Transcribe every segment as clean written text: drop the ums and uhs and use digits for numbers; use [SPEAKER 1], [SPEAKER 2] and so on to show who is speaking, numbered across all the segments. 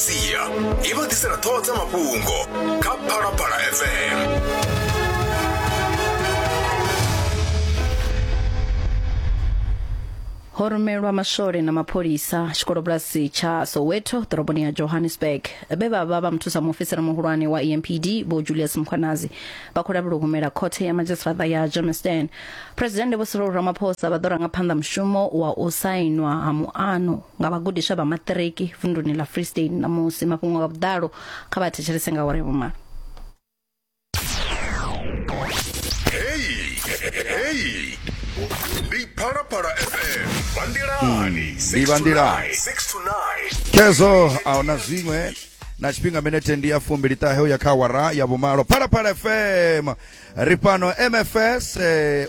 [SPEAKER 1] Masia i vha ḓisela ṱhoho dza mafhungo kha Phalaphala FM.
[SPEAKER 2] Ho rumelwa maswole na mapholisa tshikolobulasi tsha Soweto ḓoroboni ya Johannesburg vhe vha vha vha muthusa muofisiri muhulwane wa EMPD Vho Julius Mkhwanazi vha khou lavhelwa u humela khothe ya madzhisiṱiraṱa ya Germiston. Phresidennde Vho Cyril Ramaphosa vha ḓo ranga phanḓa mushumo wa u sainwa ha muano nga vhagudiswa vha maṱiriki vunduni ḽa Free State ṋamusi. Mafhungo nga vhuḓalo kha vha thetshelese nga awara ya vhumalo.
[SPEAKER 1] Hey, hey, ndi Phalaphala FM Vanḓilani
[SPEAKER 3] Ndi Vanḓilani.
[SPEAKER 1] 6 to 9.
[SPEAKER 3] Khezwo a huna zwiṅwe na tshifhinga minete ndi ya fumbili ṱahe uya kha awara ya vhumalo. Phalaphala FM ri fhano MFS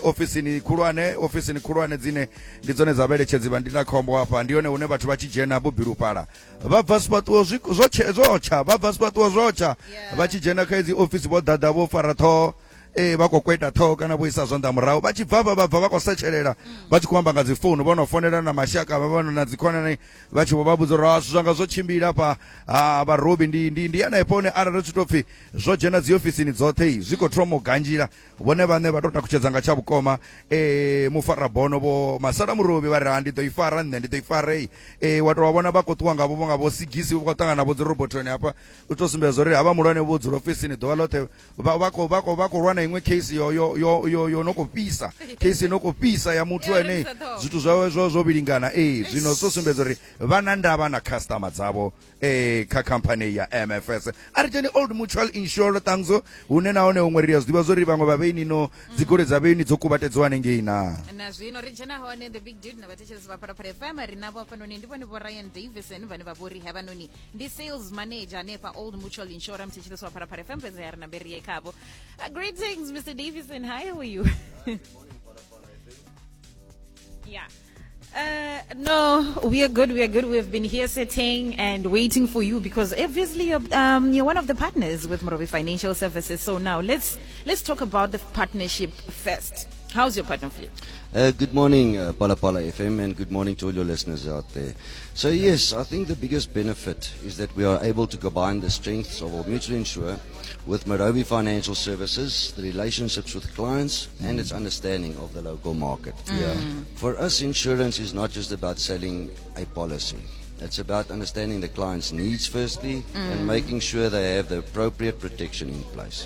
[SPEAKER 3] ofisini khulwane, ofisini khulwane dzine ndi dzone dza vhaeletshedzi vha ndindakhombo hafha ndi hone hune vhathu vha tshi dzhena vho bilufhala vha bva zwifhaṱuwo zwo tsha, vha bva zwifhaṱuwo zwo tsha vha tshi dzhena kha idzi ofisi vho ḓaḓa vho fara ṱhoho vha khou kweta ṱhoho kana vho isa zwanḓa murahu vha tshi bva vha bva vha khou setshelela vha tshi khou amba nga dzi founu vho no fonela na mashaka vha vha na dzikhonani vha tshi vho vha vhudza uri zwithu zwanga zwo tshimbila hafha ha vharobi ndi ndi ndi hanefho hune arali zwi tou pfhi zwo dzhena dzi ofisini dzoṱhe zwi khou thoma u ganzhila vhone vhaṋe vha tou takutshedza nga tsha vhukoma mufarabono vho Masala Murovhi vha ri ha ndi ḓo i fara nṋe ndi ḓo i fara wa tou vha vhona vha khou ṱuwa nga vho nga vho sigisi vha khou ṱangana vho dzi robotoni hafha u tou sumbedza uri havha muhulwane vho dzula ofisini ḓuvha ḽoṱhe vha vha khou vha khou vha khou lwa na iṅwe case yo yo yo yo yo no khou fhisa case no khou fhisa ya muthu ane zwithu zwawe zwo zwo vhilingana zwino zwo sumbedza uri vha na ndavha na customer dzavho kha company ya MFS. A ri dzheni Old Mutual Insure Tangzo hune nahone huṅwe ri a zwi ḓivha zwori vhaṅwe vha vheini no dzigoloi dza vheini dzo kuvhatedziwa hanengei na
[SPEAKER 4] na zwino ri dzhena hone the big dude na vhathetshelesi vha Phalaphala FM ri navho hafhanoni ndi vhone vho Ryan Davison vhane vha vhori havhanoni ndi sales manager hanefha Old Mutual Insurance muthetshelesi wa Phalaphala FM fhedzi ya ri nambe ri ye khavho. Greetings Mr Davison, hi, how are you? Yeah. No, we are good. We are good. We've been here sitting and waiting for you because obviously you're one of the partners with Morobe Financial Services. So now let's talk about the partnership first. How's your partnership?
[SPEAKER 5] Good morning, Phalaphala FM, and good morning to all your listeners out there. So yes, I think the biggest benefit is that we are able to combine the strengths of Old Mutual Insure with Morobe Financial Services, the relationships with clients, and its understanding of the local market. For us, insurance is not just about selling a policy. It's about understanding the client's needs firstly and making sure they have the appropriate protection in place.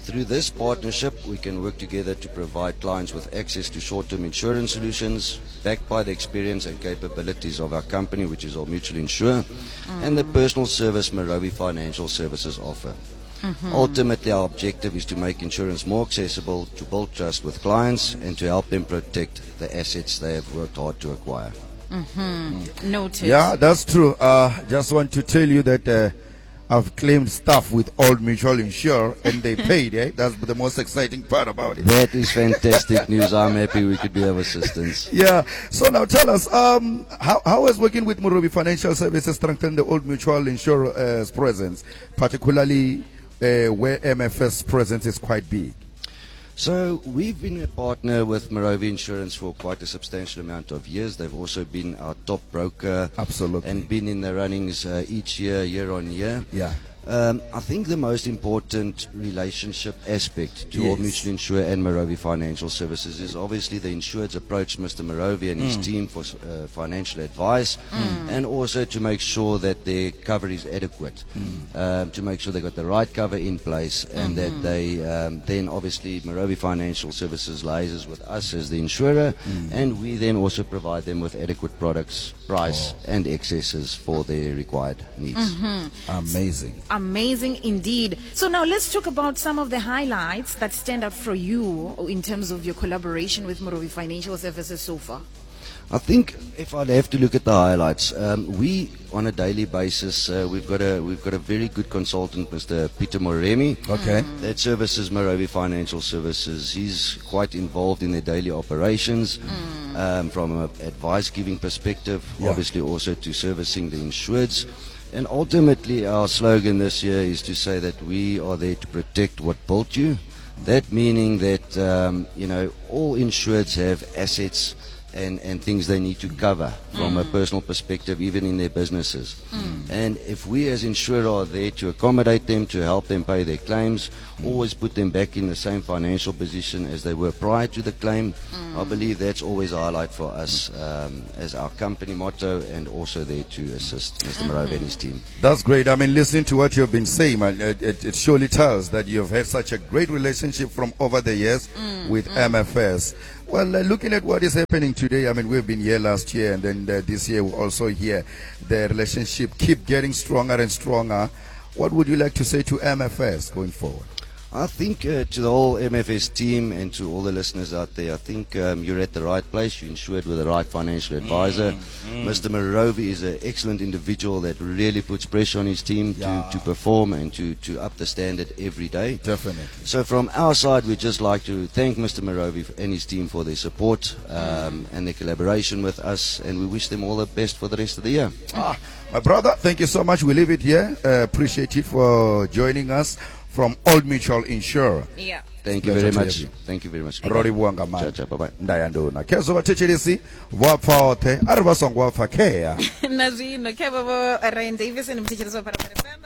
[SPEAKER 5] Through this partnership, we can work together to provide clients with access to short-term insurance solutions backed by the experience and capabilities of our company, which is Old Mutual Insure, and the personal service Morobe Financial Services offer. Ultimately, our objective is to make insurance more accessible, to build trust with clients, and to help them protect the assets they have worked hard to acquire.
[SPEAKER 4] Noted.
[SPEAKER 3] Yeah, that's true. Just want to tell you that I've claimed stuff with Old Mutual Insure and they paid. That's the most exciting part about it.
[SPEAKER 5] That is fantastic news. I'm happy we could be of assistance.
[SPEAKER 3] Yeah. So now tell us, how has working with Morobe Financial Services strengthened the Old Mutual Insure's presence, particularly where MFS presence is quite big?
[SPEAKER 5] So we've been a partner with Morobe Insurance for quite a substantial amount of years. They've also been our top broker.
[SPEAKER 3] Absolutely.
[SPEAKER 5] And been in the runnings each year, year on year. I think the most important relationship aspect to Old Mutual Insure and Morobe Financial Services is obviously the insured's approach Mr. Morobe and his team for financial advice, and also to make sure that their cover is adequate, to make sure they got the right cover in place, and that they then obviously Morobe Financial Services liaises with us as the insurer, and we then also provide them with adequate products, price, and excesses for their required needs.
[SPEAKER 3] Amazing.
[SPEAKER 4] Amazing indeed. So now let's talk about some of the highlights that stand out for you in terms of your collaboration with Morobe Financial Services so far.
[SPEAKER 5] I think if I'd have to look at the highlights, we on a daily basis, we've got a very good consultant, Mr. Peter Moremi. That services Morobe Financial Services. He's quite involved in their daily operations, from an advice giving perspective, obviously also to servicing the insureds. And ultimately, our slogan this year is to say that we are there to protect what built you. That meaning that all insureds have assets and things they need to cover from a personal perspective, even in their businesses. And if we as insurer are there to accommodate them, to help them pay their claims, always put them back in the same financial position as they were prior to the claim, I believe that's always a highlight for us as our company motto, and also there to assist Mr. Marovi and his team.
[SPEAKER 3] That's great. I mean, listening to what you've been saying, man, it surely tells that you've had such a great relationship from over the years with MFS. Well, looking at what is happening today, I mean, we've been here last year, and then this year we're also here. The relationship keep getting stronger and stronger. What would you like to say to MFS going forward?
[SPEAKER 5] I think to the whole MFS team and to all the listeners out there, I think you're at the right place. You're insured with the right financial advisor. Mr. Marovi is an excellent individual that really puts pressure on his team to perform and to up the standard every day.
[SPEAKER 3] Definitely.
[SPEAKER 5] So from our side, we'd just like to thank Mr. Marovi and his team for their support and their collaboration with us, and we wish them all the best for the rest of the year.
[SPEAKER 3] My brother, thank you so much. We leave it here. Appreciate you for joining us from Old Mutual Insurer.
[SPEAKER 4] Yeah.
[SPEAKER 5] Thank you
[SPEAKER 3] Pleasure
[SPEAKER 5] very
[SPEAKER 3] to
[SPEAKER 5] much.
[SPEAKER 3] have you.
[SPEAKER 5] Thank you very much.
[SPEAKER 3] Ro livhuwa nga
[SPEAKER 5] Ciao,
[SPEAKER 3] maanḓa.
[SPEAKER 5] ciao, bye-bye.
[SPEAKER 3] Ndaya nduna khezwo vhathetshelesi vho pfa oṱhe a ri vha songo pfa khea.
[SPEAKER 4] Na zwino khe vho Ryan Davison, muthetshelesi wa Phalaphala FM,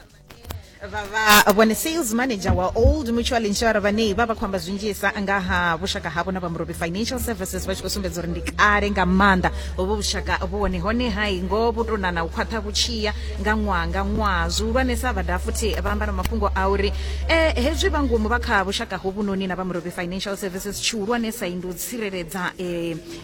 [SPEAKER 4] vha vha vhone sales manager wa Old Mutual Insurer, vhane vha vha khou amba zwinzhisa nga ha vhushaka havho na vha Murobi Financial Services, vha tshi khou sumbedza uri ndi kale nga maanḓa hovho vhushaka vhone hone hai ngo vhu tou nana u khwaṱha vhutshiya nga ṅwaha nga ṅwaha. Zwihulwanesa vha daha futhi vha amba na mafhungo a uri hezwi vha ngomu vha kha vhushaka hovhunoni na vha Murobi Financial Services, tshihulwanesa ndi u tsireledza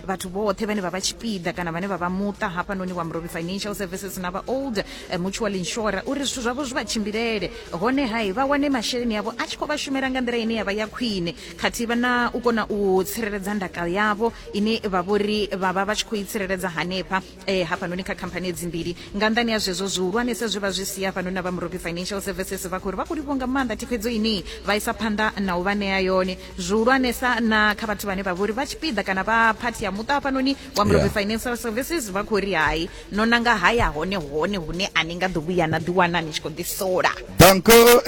[SPEAKER 4] vhathu vhoṱhe vhane vha vha tshipiḓa kana vhane vha vha muṱa hafhanoni wa Murobi Financial Services na vha Old Mutual Insurer, uri zwithu zwavho zwi vha tshimbilele, hone hai vha wane masheleni avho a tshi khou vha shumela nga nḓila ine ya vha ya khwine, khathihi vha na u kona u tsireledza ndaka yavho ine vha vhori vha vha vha tshi khou i tsireledza hanefha hafhanoni kha khamphani edzi mbili. Nga nḓani ya zwezwo zwihulwanesa zwe vha zwi sia hafhanoni na vha Murobi Financial Services, vha khou ri vha khou livhuwa nga maanḓa thikhedzo ine vha isa phanḓa na u vha ṋea yone, zwihulwanesa na kha vhathu vhane vha vhori vha tshipiḓa kana vha phathi ya muṱa hafhanoni wa Murobi Financial Services. Vha khou ri hai no nanga haya hone hone hune a ni nga ḓo vhuya na ḓiwana ni tshi khou ḓisola.
[SPEAKER 3] Danko.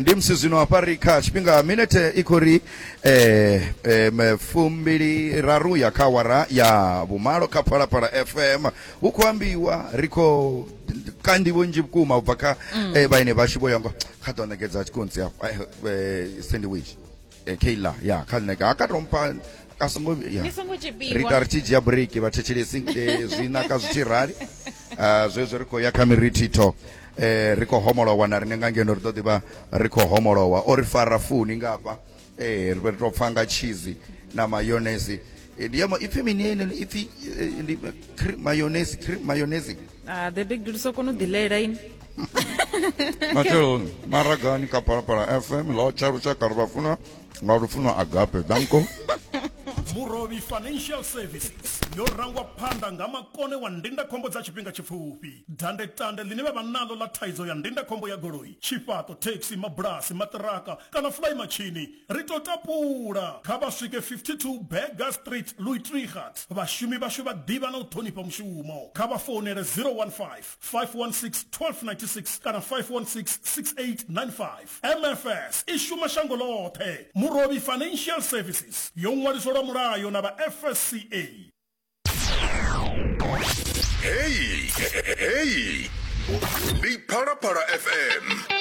[SPEAKER 3] Ndi musi zwino hafha ri kha tshifhinga minete i khou ri 23 ya kha awara ya vhumalo kha Phalaphala FM. Hu khou ambiwa ri khou ka nḓivho nnzhi vhukuma u bva kha vhaine vhashu vho yango kha ḓo ṋekedza tshikontsi hafha sandwich Kayla ya kha ṋeka ha ka to mpha a songo ya
[SPEAKER 4] Ni songo tshipiwa.
[SPEAKER 3] Ri ta ri tshi dzhia break vhathetshelesi, zwi naka zwi tshi rali. Zwezwo ri khou ya kha mirithitho, ri khou homolowa na riṋe nga ngeno ri ḓo ḓivha ri khou homolowa o ri fara funi ngafha, ri vhe ri tou pfa nga cheese na mayonnaise. Ndi ya ipfi mini ene ipfi ndi cream mayonnaise, cream mayonnaise.
[SPEAKER 4] Ah, the big dude so kona u ḓilela ini.
[SPEAKER 3] Matsheloni maragani kha Phalaphala FM ḽo tsha lushaka ri vha funa nga lufuno agape. Danko.
[SPEAKER 6] Murovhi Financial Services yo rangwa phanḓa nga makone wa ndindakhombo dza tshifhinga tshipfufhi. Dandetande ḽine vha vha naḽo ḽa thaidzo ya ndindakhombo ya goloi, tshifhaṱo, thekhisi, mabulasi, maṱiraka kana fulaimatshini, ri tou tapula. Kha vha swike 52 Burger Street, Louis Trichardt. Vhashumi vhashu vha ḓivha na u ṱhonifha mushumo. Kha vha founele 015 516 1296 kana 516 6895. MFS i shuma shango ḽoṱhe. Murovhi Financial Services yo ṅwaliswa lwa mulayo na vha FSCA.
[SPEAKER 1] Hey, hey, ndi Phalaphala FM.